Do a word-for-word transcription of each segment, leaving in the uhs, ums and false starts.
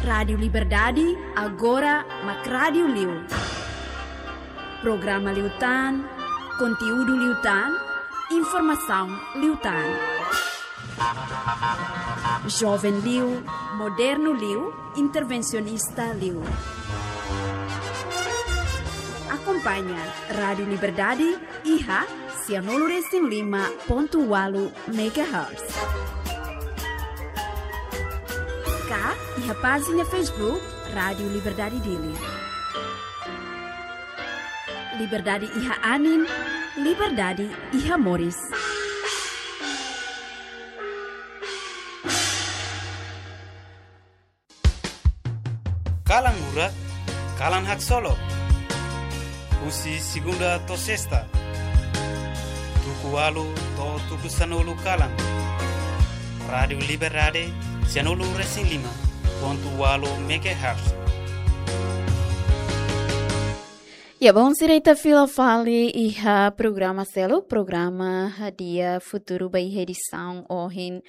Rádiu Liberdade, agora mak rádiu liu. Programa liután, konteúdu liután, informasaun liután. Joven liu, modernu liu, intervensionista liu. Akompaña Rádiu Liberdade iha sianulu resin lima pontu ualu megahertz. Ka iha pájina Facebook Rádiu Liberdade Dili. Liberdade iha anin, liberdade iha moris. Kalan murak, kalan haksolok. Husi segunda to'o sesta, tuku ualu to'o tuku sanulu kalan. Rádiu Liberdade, sianulu resin lima pontu ualu megahertz. Ya, bainhira ita fila fali iha programa seluk, programa Hadi'a Futuru ba iha edisaun ohin,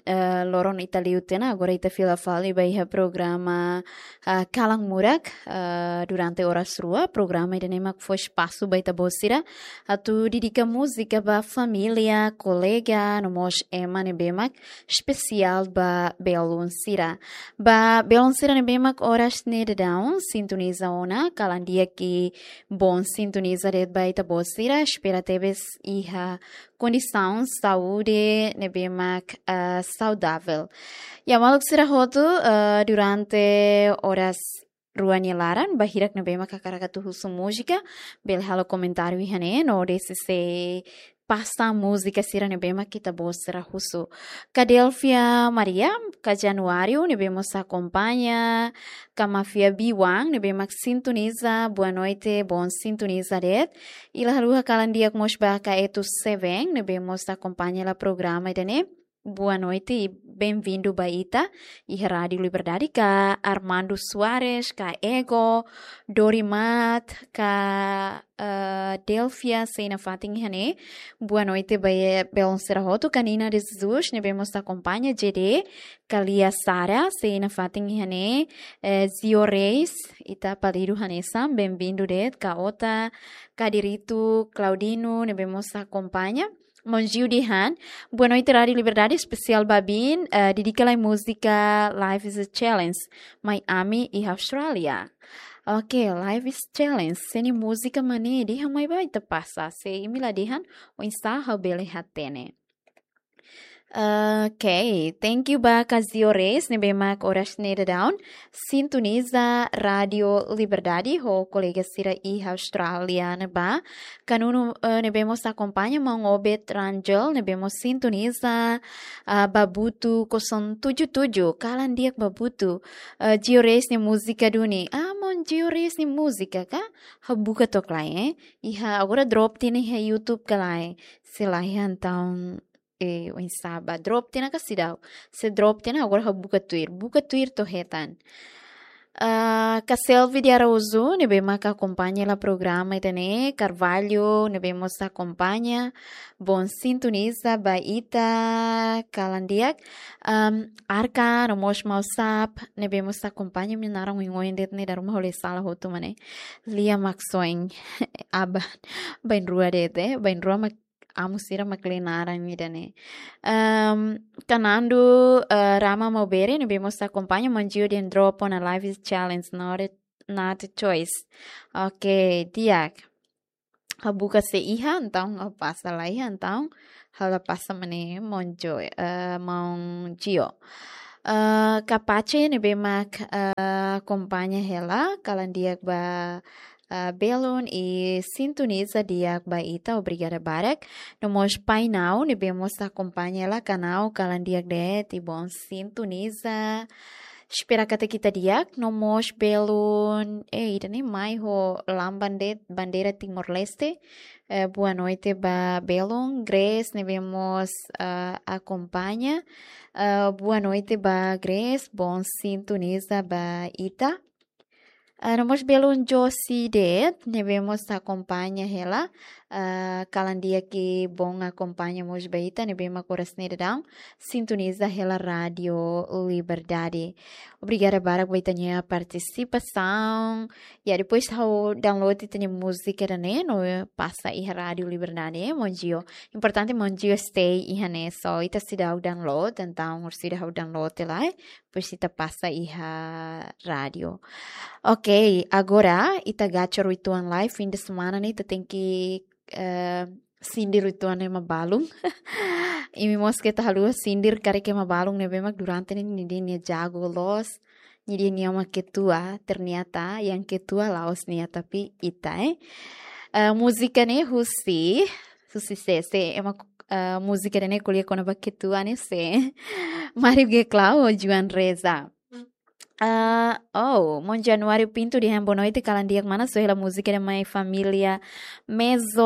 eh, loron ita liu tiha ona, agora ita fila fali ba iha programa, ah, Kalan Murak, ah, durante oras rua, programa ida-ne'e mak fó espasu ba ita-boot sira atu dedika múzika ba família, kolega, no mós ema ne'ebé mak espesiál ba belun sira. Ba belun sira ne'ebé mak oras ne'e daudaun sintoniza ona, kalan di'ak i boot sintoniza de'it ba ita-boot sira, espera tebes iha kondisaun saúde ne'ebé mak, ah, saudavel. Ya, maluk sira hotu, ah, durante oras rua nia laran, ba hirak ne'ebé mak hakarak atu husu múzika, bele halo komentáriu iha ne'e, no deside pasa múzika sira ne'ebé mak ita-boot sira husu. Ka Delfia Maria, ka Januário, ne'ebé mós akompaña, ka Mafia Biwang, ne'ebé mak sintoniza, boa noite, boot sintoniza de'it. I la haluha kalan di'ak mós ba ka Etu Seven, ne'ebé mós akompaña hela programa ida-ne'e. Boa noite i bem-vindo ba ita iha Rádiu Liberdade, ka Armando Soares, ka Ego, Dorimat, ka, eh, Delfia, sei nafatin iha ne'e. Boa noite ba, eh, belun sira hotu, ka Nina de Jesus, ne'ebé mós akompaña, J D, ka Lia Sara, sei nafatin iha ne'e, eh, Zio Reis, ita apelidu hanesan, bem-vindo de'it, ka Ota, ka Diritu, Claudino, ne'ebé mós akompaña. Maun Gio dehan, boa noite, Rádiu Liberdade, espesiál ba Bin, eh, dedika lai múzika Life is a Challenge, Miami iha Austrália. Oke, Life is Challenge, se nia múzika mak ne'e, dehan mai ba ita pasa, se imi la dehan, oinsá ha'u bele hatene. Oke, thank you ba Kazio Reis, ne'ebé mak oras ne'e daudaun sintoniza Rádiu Liberdade ho kolega sira iha Austrália ne'ebá. Ka Nuno, eh, ne'ebé mós akompaña, maun Obed Rangel, ne'ebé mós sintoniza, ah, Babutu kosong tujuh tujuh, kalan di'ak Babutu. Eh, Gio Reis nia múzika duni. Ah, maun Gio Reis nia múzika ka? Ha'u buka to'ok lai, eh. Iha, agora drop tiha ona iha YouTube ka lae. Se lae entaun, eh, oinsá ba drop tiha ona ka seidauk. Se drop tiha ona, agora ha'u buka tuir. Buka tuir to'o hetan. Ah, ka Selvi de Araújo, ne'ebé mak akompaña hela programa ida-ne'e, Carvalho, ne'ebé mós akompaña, boot sintoniza ba ita, kalan di'ak, am, Arka, no mós maun Sap, ne'ebé mós akompaña, imi-nia naran oioin de'it ne'e, dala ruma ha'u lee sala hotu mak ne'e, Lia Maxoin, aban, bainrua de'it, eh, bainrua mak amu sira mak lee naran ida-ne'e. Ehm, ka Nando, eh, Rama Maubere, ne'ebé mós akompaña, maun Gio dehan drop ona Life is Challenge, not a, not a choice. Oke, di'ak. Ha'u buka se iha, entaun ha'u pasa, la iha, entaun ha'u la pasa mak ne'e, maun Gio, eh, maun Gio. Eh, ka Pace, ne'ebé mak, eh, akompaña hela, kalan di'ak ba, ah, belun i sintoniza di'ak ba ita, obrigada barak. No mós Pai Nau, ne'ebé mós akompaña hela, ka Nau, kalan di'ak de'it i boot sintoniza. Espera katak ita di'ak, no mós belun, eh, ida-ne'e mai ho lamban de'it, bandeira Timor-Leste. Eh, boa noite ba belun, Grace, ne'ebé mós, ah, akompaña. Eh, boa noite ba Grace, boot sintoniza ba ita. Ah, no mós belun Josi de'it, ne'ebé mós akompaña hela, ah, kalan di'ak ke bom akompaña mós ba ita, ne'ebé mak oras ne'e daudaun sintoniza hela Rádio Liberdade. Obrigada barak ba ita-nia partisipasaun. Ya, depois ha'u download ita-nia múzika ida-ne'e no pasa iha Rádio Liberdade, maun Gio. Importante maun Gio stay iha ne'e, so ita seidauk download, entaun orsida ha'u download lai, depois ita pasa iha rádio. Ok, agora ita gacor uitoan lai, fim de semana ne'e ita tenke, eh, sindir uitoan ema balun. Imi mós keta haluha sindir karik ema balun ne'ebé mak durante ne'e nia dehan nia jago loos, nia dehan nia mak ketua, ternyata yang ketua la'ós nia tapi ita, eh. Eh, múzika ne'e husi, husi sé, sé, ema, eh, múzika ne'e ko'alia kona-ba ketua ne'e sé. Mário Geclau, João Reza. Ah, oh, maun Januário Pinto dehan boa noite, kalan di'ak mana, soe hela múzika ida mai família Mezo,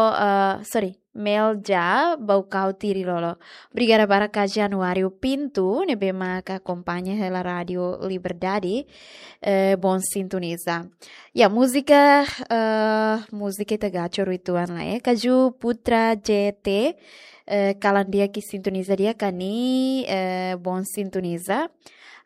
ah, sorry, Melja, Baucau Tirilolo. Obrigada barak ka Januário Pinto, ne'ebé mak akompaña hela Rádio Liberdade, eh, bom sintoniza. Ya, múzika, eh, múzika ita gacor uitoan lai, eh. Kaju Putra J T, eh, kalan di'ak ke sintoniza di'ak ka nia, eh, bom sintoniza.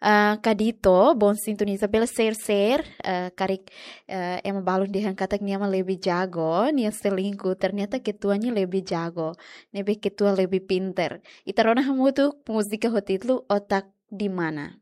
Ah, Kadito, bom sintoniza, bele share, share, eh, karik, eh, ema balun dehan katak nia mak lebih jago, nia selingkuh, ternyata ketua nia lebih jago, ne'ebé ketua lebih pinter. Ita rona hamutuk múzika ho títulu Otak di Mana.